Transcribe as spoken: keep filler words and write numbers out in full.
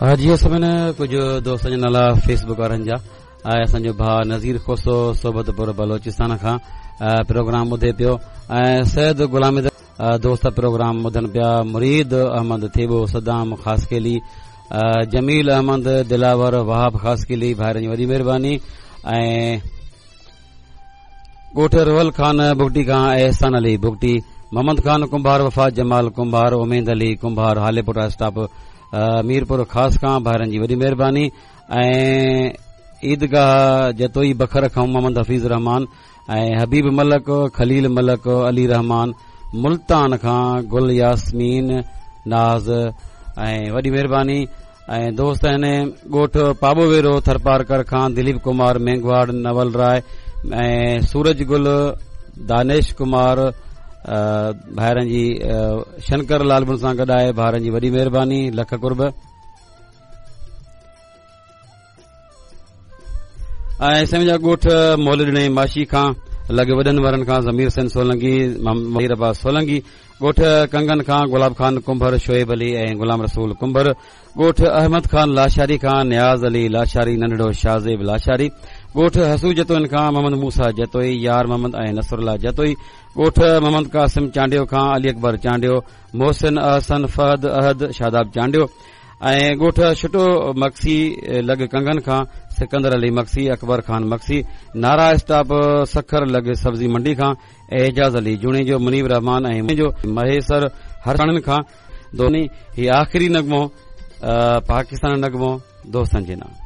جي سڀني ڪجهه دوستن جا نالا فيسبڪ وارن جا ۽ اسان جو ڀاء نذير کوسو صحبتپور بلوچستان کان پروگرام ٻڌي پيو ۽ سيد غلام دوست پروگرام ٻڌن پيا، مريد احمد ٿيٻو، صدام خاصخيلي، جميل احمد دلاور، وهاب خاصخيلي، ڀائرن جي وڏي مهرباني. ۽ ڳوٺ روهل خان بگٽي کان احسان علي بگٽي، محمد خان ڪنڀار، وفا جمال ڪنڀار، اميد علي ڪنڀار، هاليپوٽا اسٽاپ ميرپور خاص کان ڀائرن جي وڏي مهرباني. ۽ عيدگاهه جتوئي بکر کان محمد حفيظ رحمان ۽ حبيب ملڪ، خليل ملڪ، علي رحمان، ملتان کان گل ياسمين ناز ۽ وڏي مهرباني. ۽ دوست آهن ڳوٺ پاٻو ويرو ٿرپارڪر کان دليپ ڪمار مينگهواڙ، نول راءِ ۽ سورج گل، دانيش ڪمار ڀائرن جي شنڪر لال بن سان گڏ آهي، ڀائرن جي وڏي مهرباني، لک قرب. ۽ سمجھا ڳوٺ مولڏڻي ماشي کان لڳ وڏن ورن کان ضمير حسين سولنگي، مير عباس سولنگي، ڳوٺ ڪنگن کان گلاب خان ڪنڀر، شعيب علي ۽ غلام رسول ڪنڀر، ڳوٺ احمد خان لاشاري کان نياز علي لاشاري، ننڍڙو شاهزيب لاشاري، ڳوٺ حسو جتوئين کان محمد موسيٰ جتوئي، يار محمد ۽ نصر الله جتوئي، ڳوٺ محمد قاسم چانڊيو کان علي اڪبر چانڊيو، محسن احسن، فهد احد، شاداب چانڊيو ۽ ڳوٺ ڇٽو مگسي لڳ ڪنگن کان سڪندر علي مگسي، اڪبر خان مگسي، نارا اسٽاپ سکر لڳ سبزي منڊي کان اعجاز علي جوڻيجو، منيب رحمان ۽ مهيسر هرساڻين کان. دوني هي آخري نغمو پاڪستان نغمو دوستن جي نام.